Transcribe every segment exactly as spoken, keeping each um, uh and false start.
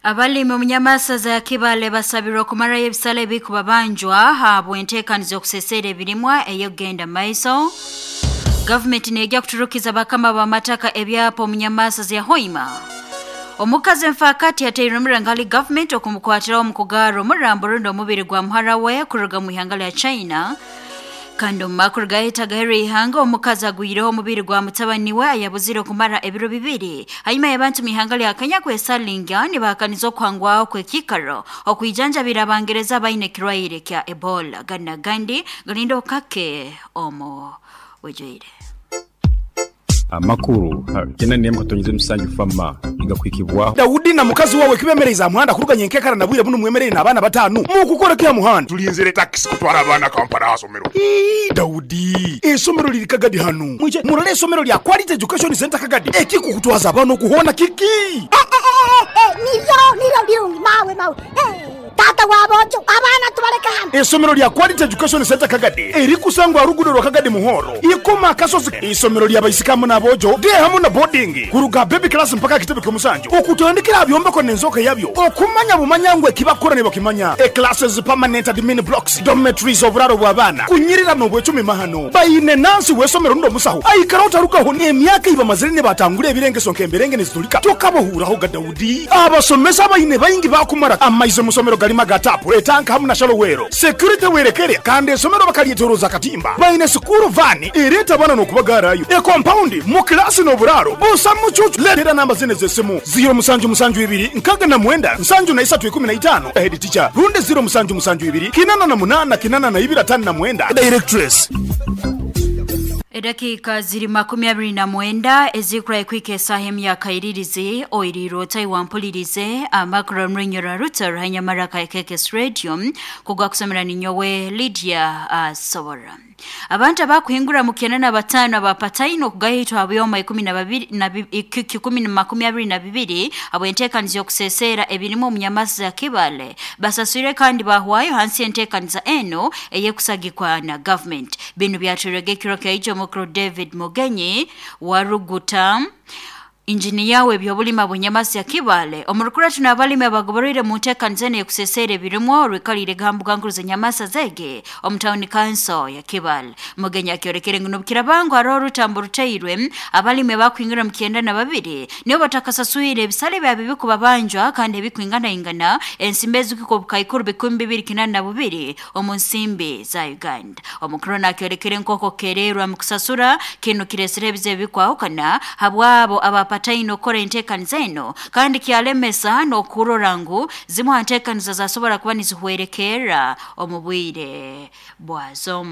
Abalimi omunyamasaza ya Kibale basabirwa okumarayo ebisale ebikubabanjwa habw'enteekaniza okusesera ebirimwa ey'okugenda maiso. Gavumenti neejja kuturukiza bakama b'amataka ebyapa omunyamasaza ya Hoima. Omukazi enfaakati yateirwe omurangali gavumenti okumukwatiraho omu kugarra omurambo rundi omubiri gwa muhara we kuruga mu ihanga lya China. Kandi omu makuru gahita ihanga omukazi agwireho omubiri gwa mutabani we ayabuzire okumara ebiro bibiri hanyuma y'abantu mu ihanga lya Kenya kwesalinga nibahakaniza okuhangwaho kw'ekiikaro okwijanjabira abangereza abaine ekirwaire kya Ebola. Gana gandi galinda okake omu bwijwire. Amakuru kena nemu katonyize musanju fama igakwikibwa Daudi na mukazi wawe kibemereza muhanda kuruganya enkekara na bwire buno mwemerere n'abaana batanu mukukora kya muhanda tulinzire taxi kutwara abaana Kampala asomero. Ii, Daudi esomero liri Kagadi hanu mwije murole esomero lya Quality Education Center Kagadi ekikukutwaza abaana okuhona kiki. Niryo niryo birungi mawe mawe. Hey, tata wabojo abaana tubaleka hano. Esomero lya Quality Education Center Kagadi erikusangwa rugudo rwa Kagadi Muhoro ikoma akasozi. Isomero lya baisikamu n'abojo de hamu na boarding kuruga baby class mpaka kitebe ky'omusanju okutandikira byombeko n'enzoka yabyo okumanya bumanya ngwe kibakora ne bakimanya. E classes, permanent admin blocks, dormitories, oburaro bw'abaana kunyirira n'obwecumi mahano bayine nansi w'esomero ndo musaho aikara otarugaho emyaka iba mazire ne batangura ebirengeso nk'emberenge nezitulika tokabohuraho ga Daudi. Abasomesa bayine bayingi bakumara amaize musomero galima gatapu etanka hamu na shalowero security werekere kandi esomero bakalyetoroza katimba bayine sukuru vani ereta bana n'okubagarayo e compound mu klasi n'oburaro busa mucucu. Leetera namba zine z'essimu ziro musanju musanju ibiri nkaga na mwenda nsanju na isatu ikumi na itano head teacher runde ziro musanju musanju ibiri kinana na munana kinana na ibiri atano na mwenda directress. Edakika ziri makumi abiri na mwenda ezikura ekwika esaha emyaka iririzi oiriro wampulirize amakuru mrinyora ruta ruhanyamara ka Kekes Radio kugwa kusomera ninyowe Lydia uh, Sobora. Abantu abakuhingura mu kenda na batano abapataino okugahitwa abyoma ikumi na babiri na kikumi na makumi abiri na bibiri abo enteekaniza okusesera ebirimu omunyamasi ya Kibale basaswire kandi bahwayo hansi enteekaniza eno eyekusagikwa na government. Binu byaturege ekiro kya Mukuru David Mugenyi waruguta injiniya w'ebyobulima bunyamasi ya Kibale omurukura tunabalimi abagoborere mu nteekaniza eno ekusesera ebirimwa orwikalire gambuga nkuru z'enyamasa zege omu town council ya Kibale. Mugenyi akyorekere ngu nobukirabangu hariho orutambo ruteirwe abalimi abakwingira mu kyenda na babiri nibo batakasaswire ebisale byabo ebikubabanjwa kandi ebikwinganaingana ensimbi ezikiko obukaikuru bikumi bibiri kinana na bubiri omu nsimbi za Uganda. Omukuru nakyorekere nk'oko kererwa mu kusasura kinu kiresire ebizibu ebikwahukana habwabo aba pataino okora enteekaniza eno kandi kyalemesa n'okurora ngu zimwe ha nteekaniza zasobora kuba nizihwerekerera omu bwire bwazo.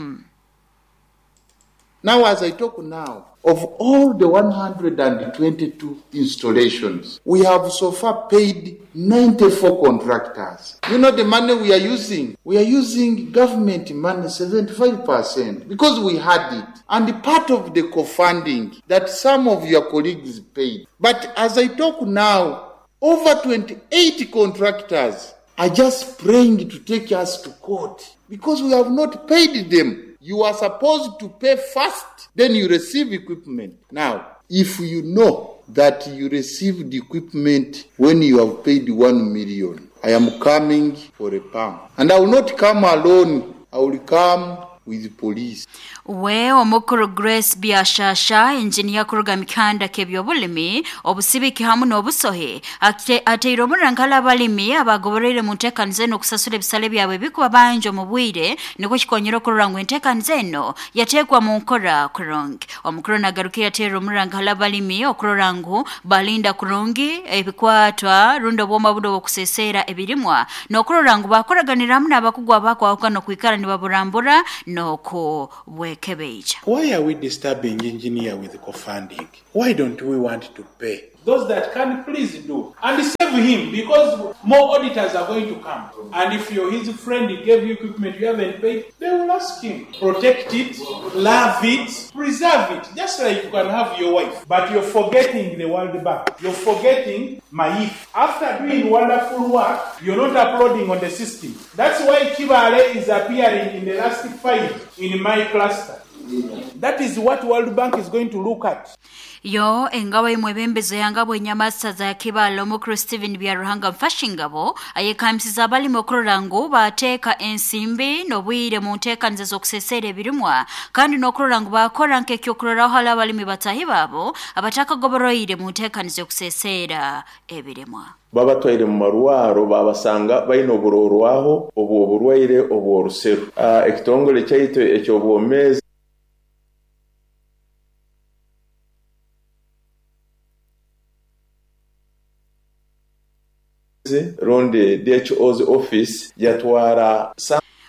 Now, as I talk now, of all the one hundred twenty-two installations, we have so far paid ninety-four contractors. You know the money we are using? We are using government money seventy-five percent because we had it. And part of the co-funding that some of your colleagues paid. But as I talk now, over twenty-eight contractors are just praying to take us to court because we have not paid them. You are supposed to pay first, then you receive equipment. Now, if you know that you received equipment when you have paid one million, I am coming for a pump. And I will not come alone. I will come with police. We omukuru Grace Biashasha engineer kuruga mikanda kebyobulimi obusibiki hamu n'obusohe ateire omurankala abalimi abagoborere mu nteekaniza eno okusasula ebisale byabwe bikuba mu bwire nikwo kikonyera okurora ngu enteekaniza eno yateekwa mu nkora kurungi. Omukuru nagarukira ateire omurankala abalimi okurora ngu balinda kurungi ebikwatwa rundi obwoma buno obukusesera ebirimwa n'okurora ngu bakoraganira hamu n'abakugu abakwahukana okwikara nibaburambura n'okubwekebeija. Why are we disturbing engineer with co-funding? Why don't we want to pay? Those that can, please do. And save him, because more auditors are going to come. And if you're his friend, he gave you equipment you haven't paid, they will ask him. Protect it, love it, preserve it. Just like you can have your wife. But you're forgetting the World Bank. You're forgetting MAIF. After doing wonderful work, you're not uploading on the system. That's why Kibale is appearing in the last five in my cluster. That is what World Bank is going to look at. Yo engabo imwebembeze yangabo enyamasa za kibalo mukuru Steven Byaruhanga mfashingabo ayekamsiza abalimi okurora ngu bateeka ensimbi n'obwire mu nteekaniza z'okusesera ebirimwa kandi n'okurora ngu bakora nk'ekyokuroraho hali abalimi batahi baabo abatakagoboroire mu nteekaniza y'okusesera ebirimwa. Babatwaire mu marwaro babasanga baine oburorwaho obwo oburwaire obw'oruseru. Uh, ekitongole kyaitu eky'obwomeezi rundi D H O's office yatwara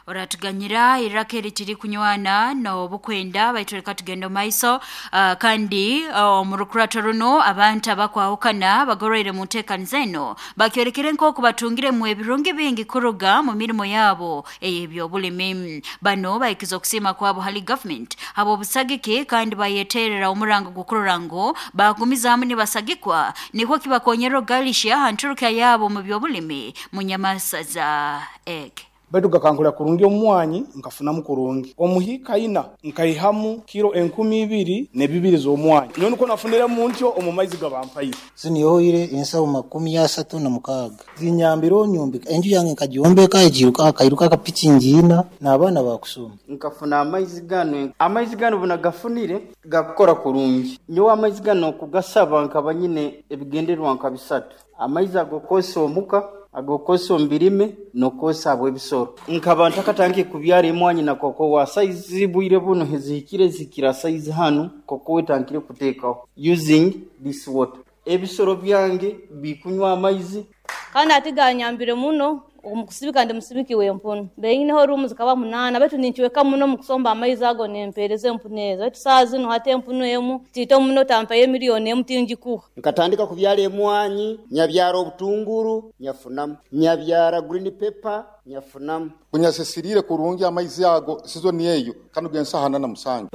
oratuganyira iraka eritiri kunywana n'obukwenda baituleka tugenda maiso uh, kandi omurukurato uh, runo abantu abakwahukana bagoroire mu nteekaniza eno bakyorekere nk'oku batungire mu ebirungi bingi kuruga mu mirimo yabo ey'ebyobulimi. Bano bayikiza okusiima kwabo hali government abo obusagiki kandi bayeterera omurango gukurora ngu bagumizaamu nibasagikwa nikwo kibakonyera ogalisha hanturuka yabo mu byobulimi mu nyamasaza ege. Baitu gakankura kurungi omwanyi nkafunamu kurungi omuhika ina nkaihamu kiro enkumi ibiri ne bibiri z'omwanyi none uko nafunira mu ntyo omu maizi gabampaire zinyoire ensawo makumi asatu na mukaaga zinyambiro nyumbika enju yange nkagyombeka ejiruka akairuka akapiki ngiina n'abaana bakusoma nkafuna amaizi gano amaizi gano bunagafunire gakora kurungi nyowe amaizi gano kugasaba nkaba nyine ebigendererwa nka bisatu amaizi agokosa omuka agokosa ombirime nokosa abo ebisoro nkaba ntakatangiye kubyara emwanyi na koko wa size bwire buno hezikire zikira size hano koko wetankire kuteekaho using this water ebisoro byange bikunywa amaizi kandi atiganyambire muno omukusibika ndi musibiki w'empunu beineho rumu zikaba munana baitu ninkiweka muno mukusomba amaizi ago nempereza empunu ezo baitu saa zino hati empunu emu tiito muno tampayo emiliyoni emu tingikuha nkatandika kubyara emwanyi nyabyara obutunguru nyafunamu nyabyara green pepper nyafunamu kunyasisirire kurungi amaizi ago sizoni eyo kandi gensahana na musanju.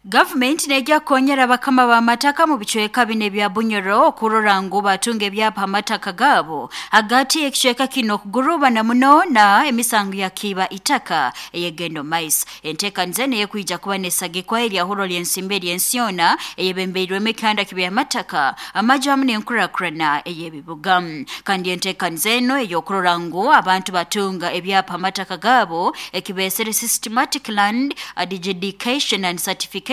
Government nejja kukonyera bakama b'amataka mu bicweka bine ebya Bunyoro okurora ngu batunga ebyapa amataka gaabo hagati ekicweka kino kugurubana muno na emisango ya kiba itaka eyegendo mais enteekaniza eno eyekwija kuba nesagikwa eryahuro ly'ensimbi ery'ensiona eyebembeirwemu ekihanda kibyamataka amaju hamu n'enkurakurana ey'ebibuga kandi enteekaniza eno ey'okurora ngu abantu batunga ebyapa amataka gaabo ekibeesere systematic land adjudication and certification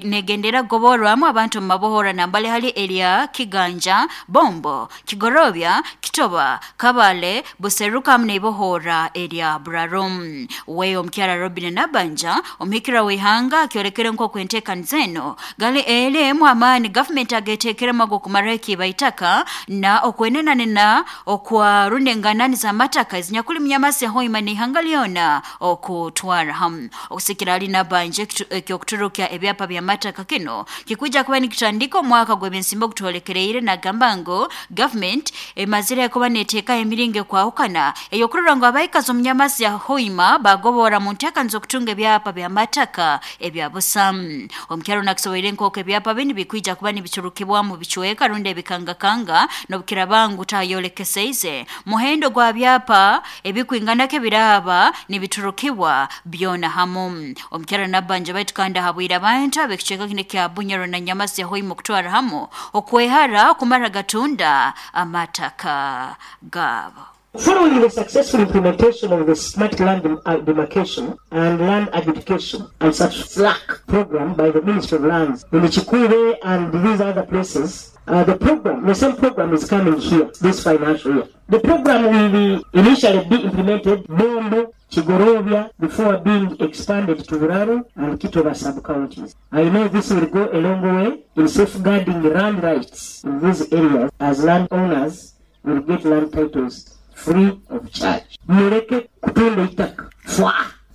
negendera goborwamu abantu mu mabohora nambale hali erya Kiganja, Bombo, Kigorobya, Kitoba, Kabale, Buseruka mneibohora erya Burarum. Weyo omukyara Robin Nabanja omuhikira w'ihanga akyorekere nk'oku enteekaniza eno gali eremu amaani government ageteekeremu ag'okumaraho ekiiba itaka na okwenenanena okwa rundenganani z'amataka ezinyakuli munyamasi hoima n'ihanga lyona okutwara hamu. Okusikira ali Nabanja ekyokuturuka ebyapa bya mataka kino kikuja kuba nikitandika omwaka gw'ebyensimbi ogutwolekereire nagamba ngu government emazire kuba neteeka emiringo ekwahukana ey'okurora ngu abaikazi omunyamasi ya hoima bagobora mu nteekaniza okutunga ebyapa bya mataka ebya busamu. Omukyaro nakisoboire nk'oku ebyapa binu bikwija kuba nibicurukibwa mu bicweka rundi ebikangakanga n'obukiraba ngu tayolekeseize muhendo gwa byapa ebikwinganako ebiraba nibiturukibwa byona hamu. Omukyaro Nabanja baitu kandi ahabwire abantu ab'ekicweka kino kya Bunyoro na Nyamasi ya Hoima okutwara hamu okwehara okumara gatunda amataka gaabo. Following the successful implementation of the Smart Land Demarcation and Land Adjudication and such SLAC program by the Ministry of Lands in Chikure and these other places, uh, the program, the same program is coming here this financial year. The program will be initially be implemented Bombo, Chigorovia, before being expanded to Buraro and Kitoba sub-counties. I know this will go a long way in safeguarding land rights in these areas as landowners will get land titles free of charge. Muleke kutunda itaka fwa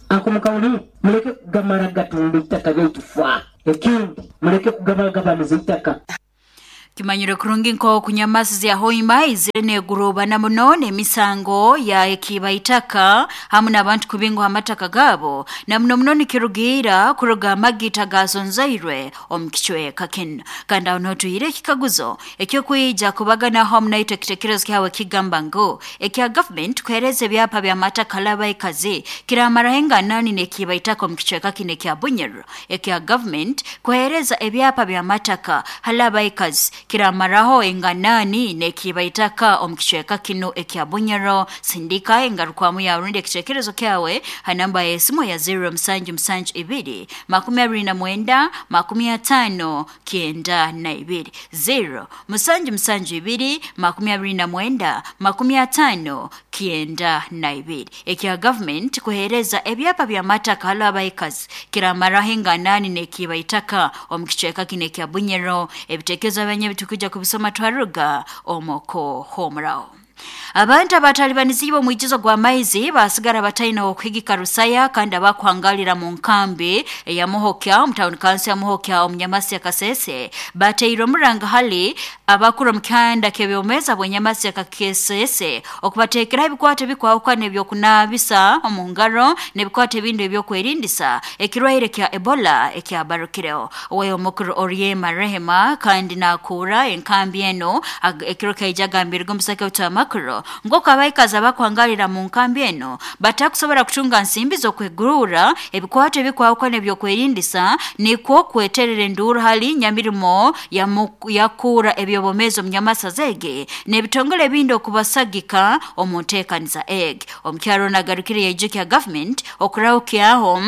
akomukawuli muleke kugamara gatunda itaka lyaitu fwa ekindi muleke kugabalagabaniza itaka. Kimanyire kurungi nko kunyamasi ya hoima izire negurubana muno n'emisango ya ekiba itaka hamu n'abantu kubingwa amataka gabo na muno muno nikirugira kuruga amagita gazonzairwe omu kicweka kino. Kandi aho notuhire ekikaguzo ekyokwija kubagana hamu naitwe ekitekerezo kyawe kigamba ngu ekya government kuhereza ebyapa bya mataka labaikazi kiramaraho enganani n'ekiba itaka omu kicweka kino ekya Bunyoro. Ekya government kuhereza ebyapa bya mataka halabaikazi kiramaraho enganani nekiba itaka omu kicweka kino ekya Bunyoro. Sindika engarukwamu ya rundi ekitekerezo kyawe ha namba ya esimu ya zero musanju musanju ibiri makumi abiri na mwenda makumi atano kienda na ibiri zero musanju musanju ibiri makumi abiri na mwenda makumi atano kienda na ibiri. Ekya government kuhereza ebyapa bya mataka halabaikazi kiramaraho enganani nekiba itaka omu kicweka kino ekya Bunyoro. Ebitekerezo abanye bitukuja kubisoma twaruga omoko homrao. Abantu abatalibanizibwa omwijizo gwa maizi basigara bataina okuhigika rusaya kandi abakuhangalira mu nkambi ya Muhokya mu town council ya Muhokya omunyamasi ya Kasese bateirwe omuranga hali abakuru mu kyanda kebyomeza bwenyamasi ya Kasese okubatekera ebikwato bikwawukana ebyokunabisa omu ngaro n'ebikwato ebindi ebyokwerindisa ekirwaire kya Ebola ekyabarukireho. Owe omukuru Oryema Rehema kandi nakura enkambi eno ekiro kaijagambirwe omusake utamakuru ngoko abaikazi abakuhangalira mu nkambi eno batakusobola kutunga nsimbi z'okwegurura ebikwato ebikwawukana ebyokwerindisa nikwo kweterera enduru hali nyamirimo yakura ebyobomezo munyamasa zege n'ebitongole ebindi okubasagika omu nteekaniza eg. Omukyaro nagarukire yaijukya government okurawukyaho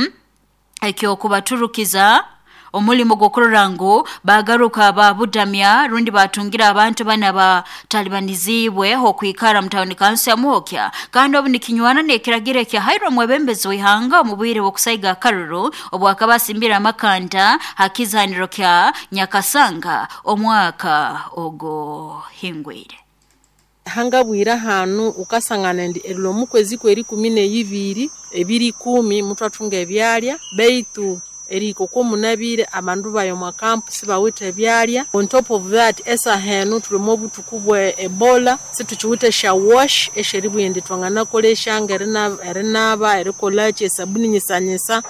ekyokubaturukiza omulimu gw'okurora ngu bagaruka babudamya rundi batungira abantu bana batalibanizibwe okwikara mu town council ya Muhokya kandi obu nikinywana n'ekiragiro ekya Hairo mwebembezi w'ihanga omu bwire bw'okusaiga akaruru obwakaba asimbira amakanda hakizaniro kya Nyakasanga omwaka ogo hingwire. Hangabwira hanu ukasangana ndi erilo mukwezi kweri kumi n'ibiri ebiri kumi mutwatunga ebyalya beitu eriko ko munabire abandu bayo mwa campus bawite ebyalya. On top of that esa henu tulimo obutuku bwe Ebola situchiwite sha wash esheri bwende twangana kolesha ngerina erinaba erikolache sabuni nyisanyisa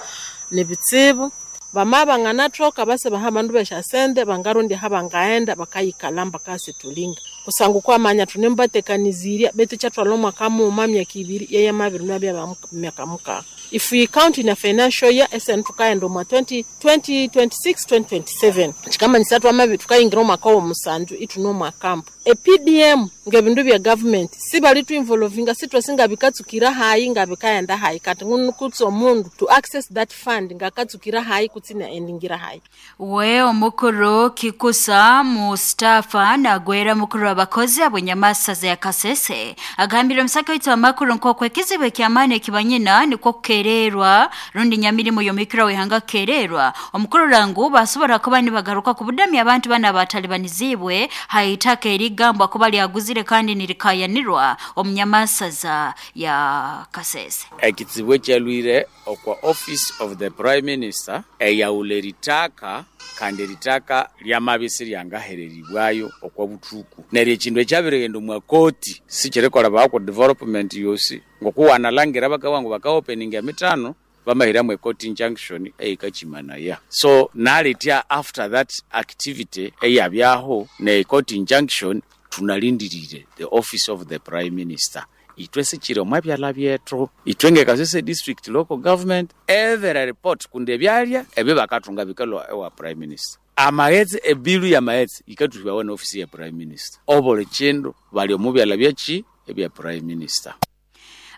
nebitsibu bama bangana troka base bahabandu beshasende bangarundi habangaenda bakayikalamba kasi tulinga kusangu kwamanya tunembatekaniziria betu chatwala omwaka muma myaka ibiri yeye mabiri nabya myaka muka. If we count in a financial year S N tukaenda mwa twenty twenty-six twenty twenty-seven chikamanyisa twamabi tukayingira omwaka omusanju ituno mwa camp E P D M ngebindu bya government sibali tu involvinga sitwasinga bikatsukira hayi ngabikaenda hayi kati ngukutso omundu to access that fund ngakatsukira hayi kutsina endingira hayi. We omukuru Kikusa Mustafa nagwera mukuru abakozi abwenyamasa ya Kasese agambira omusaka witu amakuru nk'okwo ekizibu ekyamaani ekibanyina nikwo kukererwa rundi nyamirimo yomikira wihanga kukererwa omukuru rangu basobora kuba nibagaruka kubudamya abantu bana batalibanizibwe haitaka erigambwa kuba lyaguzire kandi nirikayanirwa omunyamasaza ya Kasese. Ekizibu ekyalwire okwa office of the prime minister eyaula ritaka kandi ritaka lyamabisi lyangahereribwayo okwa butuku neryo ekindu ekyabiregenda omwa koti sikirekola bako development yosi ngokuwanalangira bakawangu bakaopeninga emitano bamahiramu court injunction eyikachimanaya. So naletia after that activity eyabyaho ne court injunction tunalindirire the office of the prime minister itwe sichiro mwabyala byethu itwenge Kasese district local government every report kunde byalya ebe bakatunga bikalwa ewa prime minister amaghetse ebilu ya maghetse ikatuhiwa na office ya prime minister obole chindu bali omubyala byachi ebya prime minister.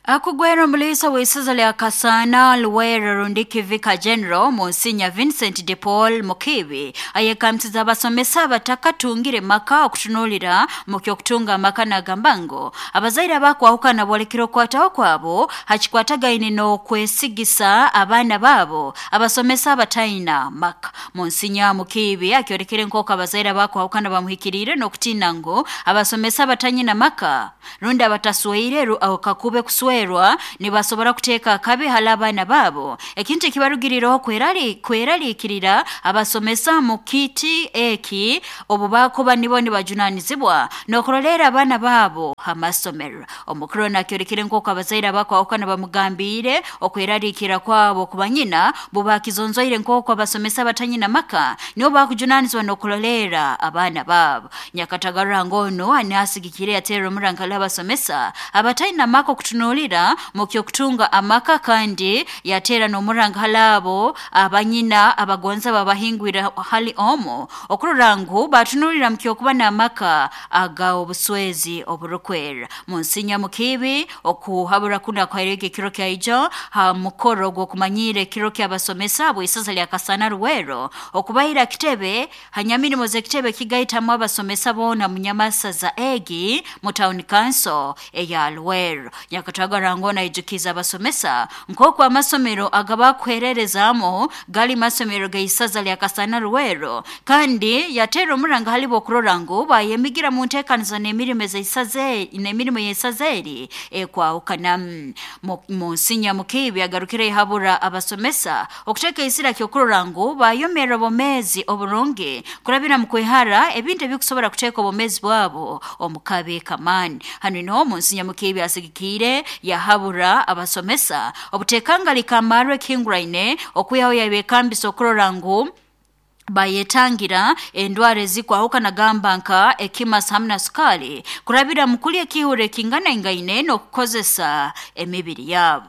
Akugwera omulisa w'eisaza lya Kasana Luwero Rundiki Vicar General Monsignor Vincent de Paul Mukibi ayekamtiza abasomesa abatakatungire maka okutunulira mu ky'okutunga amaka n'agamba ngu abazaire abakwahukana bolekire okwataho kwabo hakikwatagaine n'okwesigisa abaana baabo abasomesa abataina maka. Monsignor Mukibi akyorekere nk'oku abazaire abakwahukana bamuhikiriire n'okutiina ngu abasomesa abatanyina maka rundi abatasweire kakube kuswe kuswerwa nibasobora kuteeka akabi hali abaana baabo ekintu ekibarugirireho kweraliikirira abasomesa mu kiti eki obu bakuba nibo nibajunanizibwa n'okurolera abaana baabo amasomero. Omukuru nakyorekire nk'oku abazaire abakwahukana bamugambiire okweraliikira kwabo kuba nyina bubakizonzoire nk'oku abasomesa batanyina maka nibo bakujunanizibwa n'okurolera abaana baabo. Nyakatagara ngono anasigikire yateera omurankala abasomesa abatayina maka okutunuulira mu kyokutunga amaka kandi yateera n'omurankala abo abanyina abagonza babahingwira hali omo okurora ngu batunuulira mu kyokuba n'amaka aga obuswezi oburukwera. Munsinya mukibi okuhabura kuna kwairege ekiro kyaijo ha mukoro gw'okumanyira ekiro ky'abasomesa bw'isaza lya Kasana Ruwero okubaira kitebe hanyamirimo z'ekitebe kigaitamu abasomesa boona munyamasaza egi mu town council eya Luwero. Nyakatagara ngona ijukiza abasomesa nk'oku amasomero agabakwererezamo gali masomero gaisaza lya Kasana Ruwero kandi yatera omuranga halibo okurora ngu bayemigira mu nteekanizo n'emirimo z'eisaza n'emirimo y'eisaza eri ekwahukana. Munsinya mukibi agarukire ihabura abasomesa okuteeka isira ky'okurora ngu bayomera obomezi oburungi kurabira mu kwehara ebintu ebikusobora kuteeka obomezi bwabo omu kabi kamani. Hanu niho Munsinya mukibi asigikire yahabura abasomesa obutekanga likamarwe ekihinguraine okwihaho yabekambisa okurora ngu bayetangira endwara ezikwahukana gamba nka ekimasa hamwe na sukali kurabira mu kulya ekihure ekingana ingaine n'okukozesa emibiri yabo.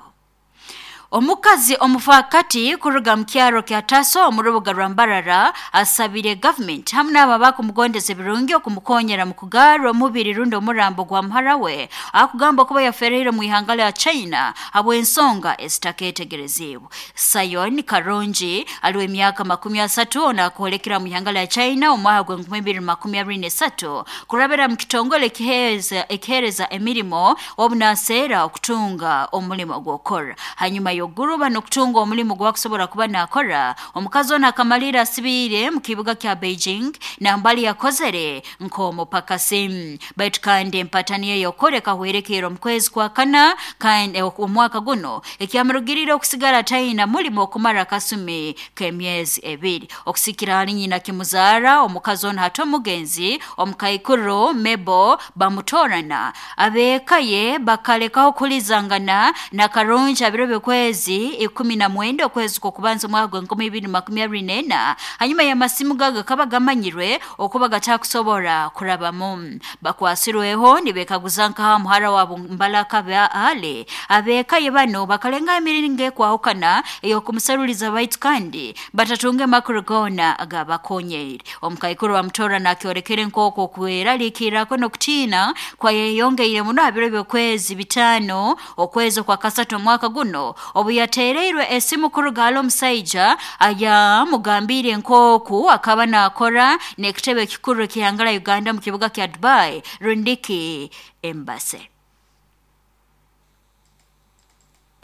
Omukazi omufakati kuruga mu kyaro kya Taso omu rubuga rwa Mbarara asabire government hamwe n'abo abakumugondeza ebirungi okumukonyera mu kugarra omubiri rundi omurambo gwa muhara we akugamba kuba yafereire mu ihanga lya China habw'ensonga ezitaketegerezibwe. Sayon Karonji aliwe emyaka makumi asatu ono akoolekera mu ihanga lya China omwaka gw'enkumi ibiri makumi abiri n'esatu kurabira mu kitongole ekiheereza ekiheereza emirimo obu naseera okutunga omulimo gw'okukora. Hanyuma yoguruba n'okutunga omulimu gwakusobora kuba nakora omukazi ono akamalira asibiire mu kibuga kya Beijing nambali yakozere nk'omupakasi. Baitu kandi empatani ye yokoreka hwerekeera omu kwezi kwa kana kandi omwaka guno ekyamurugirire okusigara atayina mulimo okumara akasumi k'emyezi ebiri. Okusikira hali nyina kimuzaara omukazi ono hati omugenzi omukaikuru Mebo bamutorana abeeka ye bakalekaho kulizangana na Karungi abiro by'okwezi ikumi na mwenda okwezi kw'okubanza omwaka gw'enkumi ibiri makumi abiri n'ena hanyuma y'amasimu gaga kaba gamanyirwe okuba gatakusobora kurabamu. Bakwasirweho nibekaguza nkaha muhara wabo Mbalaka ale abeeka ye bano bakalenga emiringo ekwahukana ey'okumusaruliza baitu kandi batatunge makuru goona agabakonyeire. Omukaikuru bamutora nakyorekere nk'oku okweraliikirako n'okutiina kwayeyongeire muno aha biro by'okwezi bitaano okwezi kwa kasatu omwaka guno obu yateereirwe esimu kuruga hali omusaija ayamugambiire nk'oku akaba naakora n'ekitebe ekikuru ekihanga lya Uganda mu kibuga kya Dubai rundiki embassy.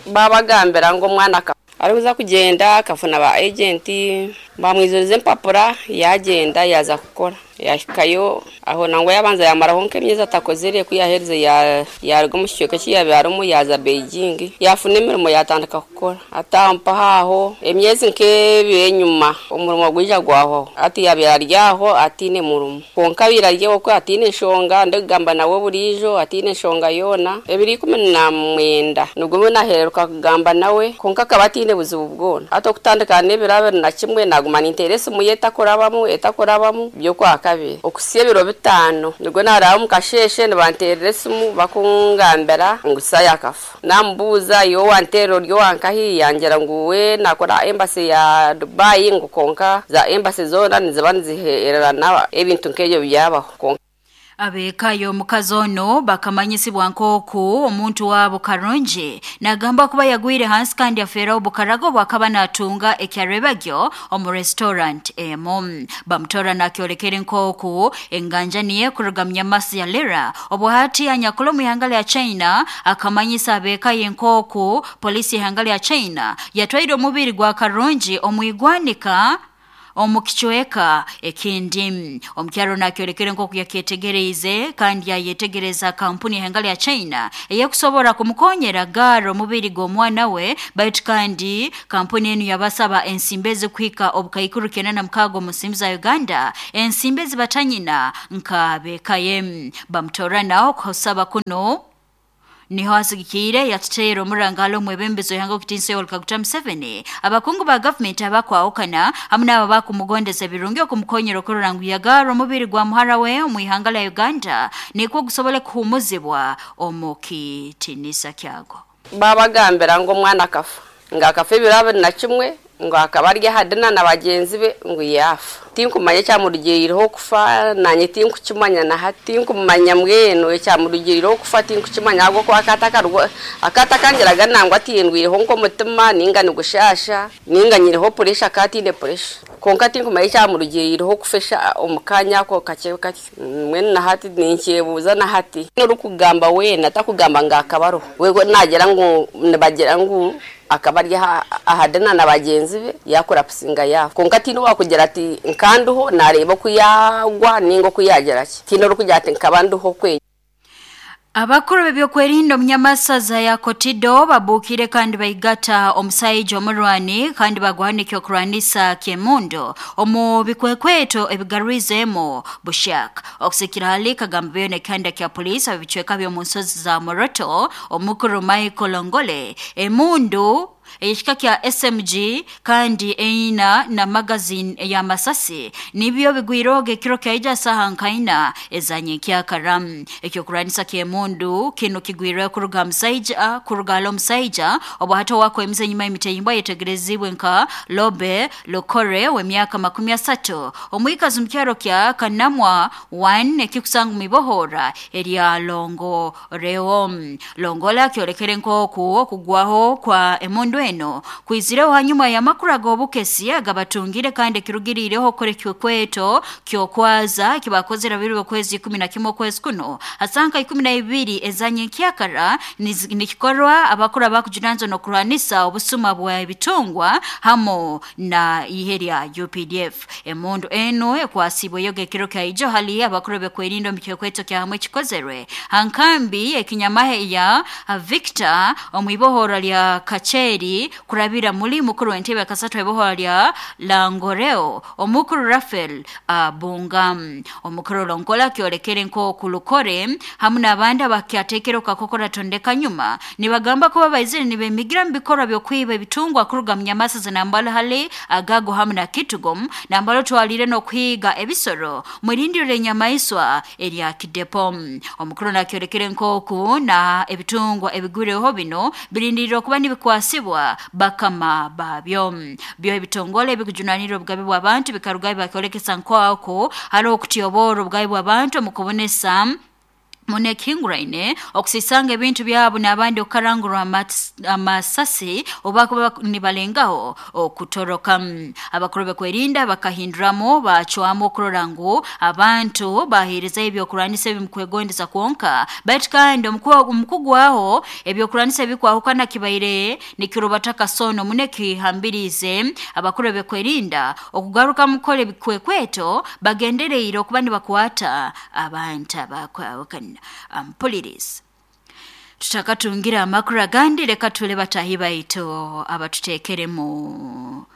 Babagambira ngu omwana arikuza kugenda akafuna ba agenti bamwizuriza empapura yagenda yaza kukora yahikayo aho nangwa yabanza yamaraho nk'emyezi atakozere kuyahereze yaruga omu kicweka eki yabyarimu yaza Beijing yafuna emirimo yatandika kukora atampa aho emyezi nk'ebiri enyuma omurimo gwija gwaho ati yabyara aryaho atiine murimo konka abire okwo atiine enshonga ndikugamba nawe buriijo atiine enshonga yoona ebiri ikumi na mwenda nigwo nahereruka kugamba nawe konka akaba atiine buzibu bwona ati okutandika n'ebiro abiri na kimwe naguma ninteera esimu ye etakurabamu etakurabamu by'okwaka kabiri okusiya ebiro bitaano nigwo naraba mukasheshe nibanteerera esimu bakungambira ngu Saya akafa. Namubuuza yo wanteera ori owankahi yangira ngu we nakora embassy ya Dubai ngu konka za embassy zoona niziba nizihererana ebintu nk'ebyo byabaho konka. Abekayo omukazi ono bakamanyisibwa nk'oku omuntu wabo Karungi nagamba kuba yagwire hansi kandi afeera obukarago bwakaba natunga ekyarebagyo omu restaurant emu. Bamutora nakyolekere nk'oku enganja niye kuruga munyamasi ya Lira obuhati anyakula omu ihanga lya China akamanyisa abekayo nk'oku polisi ihanga lya China yatwaire omubiri gwa Karungi omu igwanika Omu kicweka ekindi omukyaro nakyolekere nk'oku yakyetegereize kandi yayetegereza kampuni y'ehengali ya China eyekusobora kumukonyera garo omubiri gw'omwana we, baitu kandi kampuni enu yabasaba ensimbi ezikuhika obukaikuru kenda na mukaaga omu nsimbi za Uganda, ensimbi ezibatanyina nka bekaye bamutorana okusaba kuno niho asigikiire yatuteera omurangalo omwebembezi w'ihanga okutinsa Yoweri Kaguta Museveni. Abakungu ba gavumenti abakwahukana hamwe n'abo bakumugondeza ebirungi okumukonyera okurora ngu yagara omubiri gwa muhara we omu ihanga lya Uganda nikwo gusobole kuhumuzibwa omu kitinisa kyago. Babagambira ngu omwana akafa, nga akafa ebiro abiri na kimwe, ngo akaba ari ahadina na bagenzi be ngo yafa. Tinkumanya ekyamurugirireho okufa, nanye tinkukimanya na hati, tinkumanya mbwenu ekyamurugirireho okufa tinkukimanya, ahubwo ko akatakangiraga nangwa atindwireho nk'omutima ninga nigushasha ninga nyiriho puresha katine puresha, konka tinkumanya ekyamurugirireho okufesha omu kanya ako kakye kakye. Mbwenu na hati ninkyebuuza na hati orikugamba weena takugamba nga akabaroho wego nagira ngu nibagira ngu akaba ari ahadina na bagenzi be yakora pusinga yafa, konka tino wakugira ati nkanduho nareba kuyagwa ningo kuyagira ki tino rukugira ati nkabanduho kwe. Abakuru b'ebyokwerinda omunyamasaza ya Kotido babukire kandi baigata omusajja omurwani kandi bagwanika okurwanisa kyemundo omu bikwekweto ebigarwizemo bushaka okusikira hali kagamba byone kanda kya polisi abicweka byo nsozi za Moroto omukuru Michael Ongole emundu ekika kya S M G kandi eina na magazine ya masasi nibyo bigwiroge kiro kyaija saha nkaina ezanye kya karam ekyo kuranisa kyemundu kino kigwire kuruga musaija kuruga musaija obo hato wako emize nyuma emiteyimba yetegerezibwe nka Lobe Lokore we myaka makumi asatu omwikazi mukyaro kya Kanamwa one ekikusangu mibohora erya Longo Reom Longola kyolekere nkoku okugwaho kwa emundu eno kwizireho hanyuma ya makuru g'obukesi agabatungire kandi kirugirireho kore kyokweto kyokwaza kibakozera biri okwezi kumi na kimwe okwezi kuno asanka ikumi na ibiri ezanye kyakara nikikorwa abakuru bakujunanzo no kurwanisa obusuma bwa ebitungwa hamo na iheria U P D F emundu eno ekwasibwe yoge kiro kya hali abakuru bekwerindo mikyokweto kya hamwe kikozerwe hankambi ekinyamahe ya Victor omwibohora lya Kacheri kurabira muri mukuru w'entebe akasatu ebohora lya Langoreo omukuru Rafael Abungam omukuru Longola kyolekere nko kulukore hamwe n'abandi abakyatekero kakokora tondeka nyuma nibagamba ko babaizire nibemigira mbikora byokwiba ebitungwa kuruga mnyamasa zinambala hali agago hamwe na kitugom nambalo twalire no kwiga ebisoro mwirindiro lenyamaiswa erya Kidepom omukuru nakyolekere nko na ebitungwa ebigureho bino birindiriro kuba nibikwasibwa bakama babyo byo ebitongole ebikujunanira obugabe bw'abantu bikarugayo bakyolekesa nkwako hariho okutiyobora obugabe bw'abantu mu kubonesa munekinguraine okusisanga ebintu byabo n'abandi okarangurwa amasasi oba kuba nibalengaho okutoroka. Abakuru bekwerinda bakahinduramo bacwamo okurora ngu abantu bahereza ebyokurwanisa ebimkwegondeza kwonka baitu kandi omukugwaho ebyokurwanisa ebikwahukana kibaire nikirubataka sono munekihambirize abakuru bekwerinda okugaruka mukole bikwekweto bagendereire okuba nibakwata abantu abakwahukana. Ampuliriza tutakatungira amakuru agandi reka tule batahi baitu abatutekeremu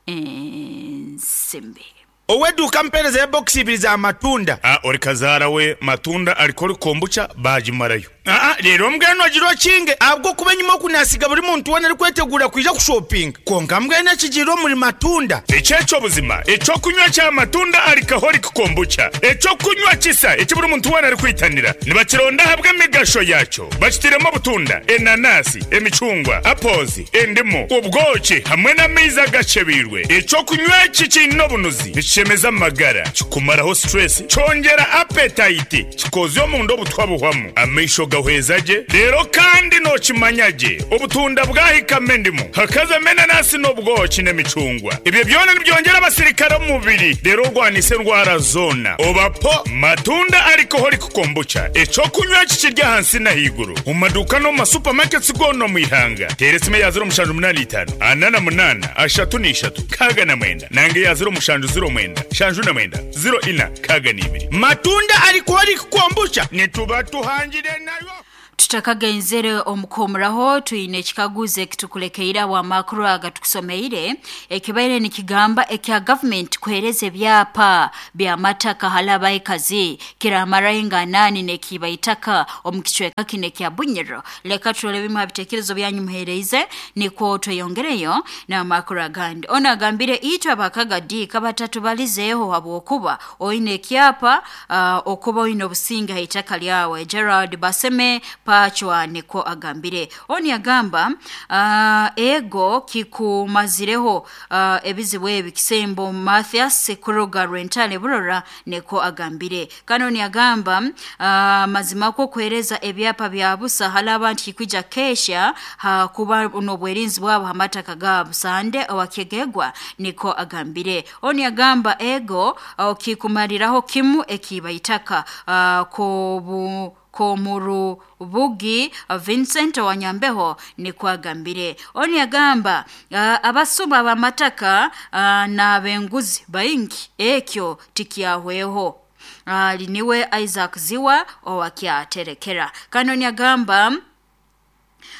ensimbi. Oweduka mpereza box ibiri za matunda. Ah, ori kazara we matunda alikori kombucha bajimarayo. Ah, rero mbweno agiro kinge abwo kuba nyuma kunasiga buri muntu wena ari kwetegura kwija kushopping. Konka mbwene kigiro muri matunda. Echecho buzima, echo kunywa cha matunda alikahori kombucha. Echo kunywa kisa, echi buri muntu wena ari kwitanira. Nibakironda habwe migasho yacho. Bakitiremo butunda, enanasi, emicungwa, apozi, endimu, ubwoki hamwe n'amaizi agacebirwe. Echo kunywa kikino bunuzi. Chemeza magara, kikumaraho stress, chongera appetite, kikozyo mu ndo butwa buhwamu. Amaisho gawe Nigahweza gye rero kandi nokimanya gye obutunda bwahikamo endimu hakazamo enanasi n'obwoki n'emicungwa ebyo byona nibyongera abasirikare omu mubiri rero orwanisa endwara zoona obapo matunda alcoholic kombucha ekyokunywa kikirya ahansi n'ahaiguru omu maduuka n'omu masupamaketi goona omu ihanga teera esimu eya ziro mushanju munaana itaano ana na munaana ashatu n'ishatu kaaga na mwenda nange eya ziro mushanju ziro mwenda shanju na mwenda ziro ina kaaga n'ibiri matunda alcoholic kombucha nituba tuhangire nayo. Tutakagenzere omukomuraho twine ekikaguzo ekitukulekeire amakuru aga tukusomeire ekibaire nikigamba ekya government kuhereza ebyapa bya mataka halaba ekazi kiramara inganani nekiba itaka omukichweka kine kya Bunyoro. Leka turole bimwe bitekerezo byanyu muhereize niko tweyongereyo na amakuru agandi. Ona agambire itwa bakagadi kabatatu balizeho habwokuba oine ekyapa uh, okuba oine obusinga itaka lyawe. Gerald Baseme Pachwa niko agambire. Oni agamba uh, ego kikumazireho uh, ebizibu ebi kisembo Mathias Kuruga Rentale Burora niko agambire. Kanoni agamba uh, mazima ko kuhereza ebyapa bya busa halaba nti kwija kesha ha, kuba n'obwerinzi bwabo hamataka gabo sande awakegegwa niko agambire. Oni agamba ego uh, kikumariraho kimu ekibaitaka uh, kobu komuru bugi Vincent Wanyambeho ni kwagambire. Oni agamba uh, abasuma bamataka uh, na benguzi baingi ekyo tikiahweho. Uh, liniwe Isaac Ziwa owakyaterekera. Kanoni agamba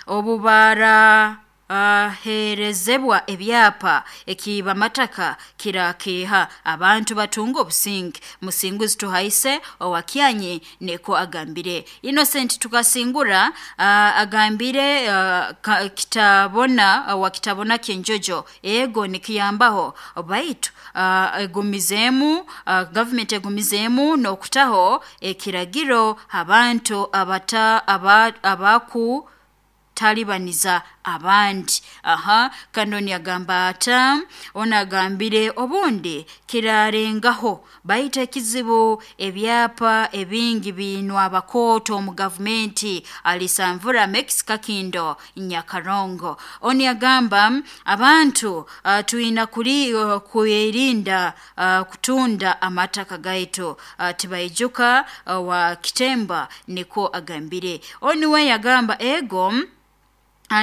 obubara Uh, herezebwa ebyapa ekiba mataka kirakiha abantu batunga obusingi musinguzi tuhaise owakyanyi niko agambire. Innocent tukasingura uh, agambire uh, ka, kitabona uh, wakitabona kinjojo ego nikiyambaho baitu uh, egumizemu uh, government egumizemu nokutaho ekiragiro abantu abata aba, abaku talibaniza abandi. Aha kanoni agamba ata ona agambire obundi kirarengaho baita kizibu ebyapa ebingi binwa abakoto mu government alisamvura Mexico Kindo Nyakarongo. Oni agamba abantu uh, tuina kuri uh, kuirinda uh, kutunda amataka gaitu uh, tibaijuka uh, wa kitemba niko agambire. Oni we yagamba ego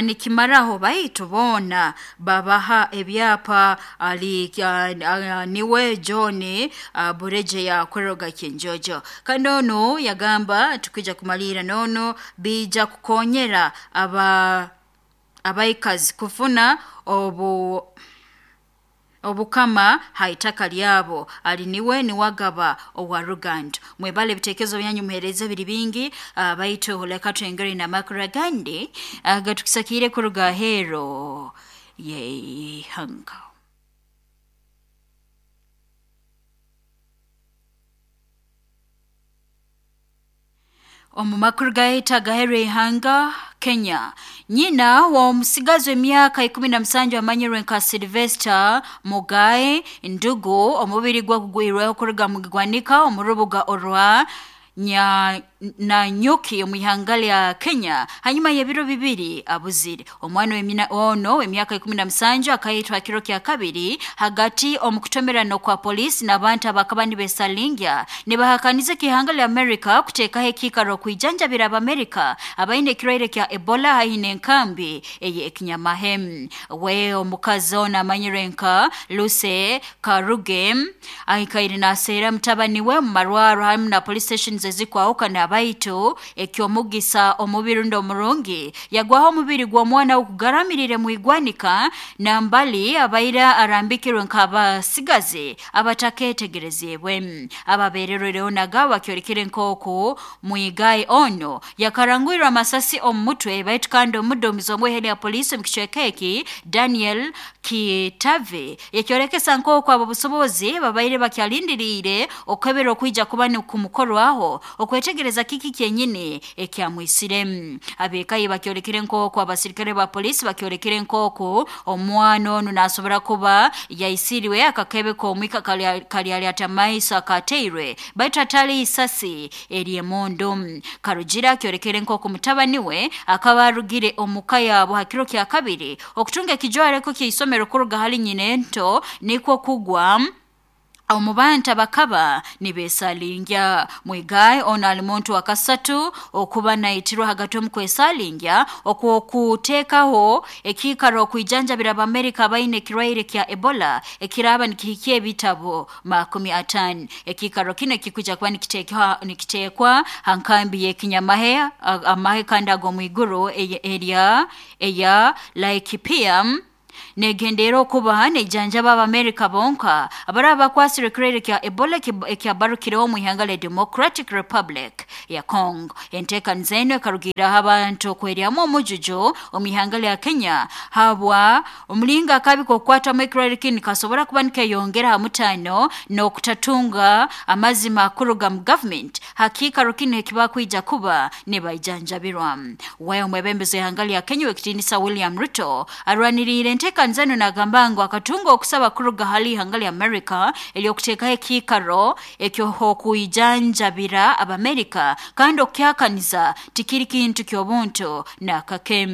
nikimaraho baitu bona babaha ebyapa ali uh, niwe John uh, Bureje ya Kweroga Kinjojo. Kanono yagamba tukija kumalira nono bija kukonyera aba abaikazi kufuna obu obukama haitaka lyabo aliniwe ni wagaba owa Ruganda. Mwebale bitekezo byanyu muhereza biri bingi uh, baitu holeka twengere na makuragandi uh, gatukisakire kuruga hero ye hanga. Omu makuru gaita gahere hanga Kenya. Nyina wa omusigazi w'emyaka ikumi na musanju amanyirwe nka Sylvester Mugae Ndugu omubiri gwa kugwirweho kuruga mu gwanika omu rubuga orwa nya na nyuki omu ya Kenya hanyuma y'ebiro bibiri abuzire. Omwana w'emina ono w'emyaka ikumi na musanju akayitwa kiro kya kabiri hagati omukutomerano kwa polisi n'abantu abakaba nibesalingya nibahakanize kihanga lya Amerika kuteekaho ekiikaro kwijanjabira Abamerika abaine ekirwaire kya Ebola haihi n'enkambi eye ekinyamahe. We omukazi ono amanyirwe nka Lucy Karuge ahikaire naseera mutabani we mu marwaro hamu na police stations ezikwahukana abaitu ekyomugisa omubiri ndo murungi yagwaho omubiri gw'omwana okugaramirire mu igwanika na mbali abaira arambikirwe nk'abasigazi abataketegerezebwe ababererwereho nagawa kyorekere nk'oku mwigaye ono yakarangwirwa amasasi omu mutwe baitu kandi omuduumizi omweheri ya polisi omu kicweka eki Daniel Kitave yakyorekesa nk'oku abo busobozi babaire bakyalindiriire okwebera okwija kuba nikumukorwaho abasaho okwetegereza kiki kyenyini ekyamwisire. Abekayi bakyolekere nk'oku abasirikare ba polisi bakyolekere nk'oku omwana onu nasobora kuba yaisiriwe akakebe k'omwika kali atamaiso akateirwe baitu atali isasi eryemondo. Karugira kyolekere nk'oku mutabani we akaba arugire omuka yabo hakiro kya kabiri okutunga ekijwareko ky'isomero kuruga hali nyinento nikwo kugwa omubanta bakaba nibesalingya. Mwigaye ono ali muntu wa kasatu okuba naitirwa hagati omukwesalingya okwokuteekaho ekiikaro okwijanjabira Abamerika abaine ekirwaire kya Ebola ekiraba nikihikia ebitabo makumi atano. Ekiikaro kino ekikuja kuba nikitekwa nikitekwa hankambi y'ekinyamahe amahe kandi ag'omwiguru erya eya Laikipia negendera okuba nejanjaba Abamerika bonka abaraba bakwasire ekirwaire kya Ebola ekyabarukireho mu ihanga lya Democratic Republic ya Congo. Enteekaniza eno ekarugiriraho abantu okweryamu omujujo omu ihanga lya Kenya habwa omulingo akabi k'okukwatamu ekirwaire kinu kasobora kuba nikeyongera ha mutano n'okutatunga amazima kuruga mu government hakiikaro kinu ekibakwija kuba nibaijanjabirwa. We omwebembezi w'ihanga lya Kenya w'ekitiinisa William Ruto arwaniriire enteekaniza eno nagamba ngu akatunga okusaba kuruga hali ihanga lya Amerika eryokuteekaho ekiikaro eky'okwijanjabira Abamerika kandi okukyakaniza tikiri kintu ky'obuntu nakake.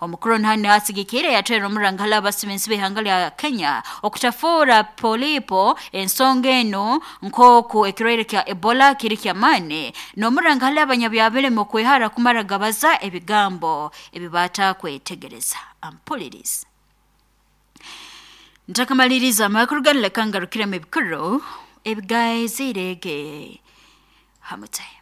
Omukuru nhani asigikire yatwera omurangala abasibensi b'ihanga lya Kenya okutafuura polipo ensonga eno nk'oku ekirwaire kya Ebola kiri kyamaani n'omurangala abanyabyabiremu okwehara kumara gabaza ebigambo ebibatakwetegereza. Ampuliriza ntakamaliriza amakuru ganu leka ngarukiremu ebikuru ebigaizirege hamute.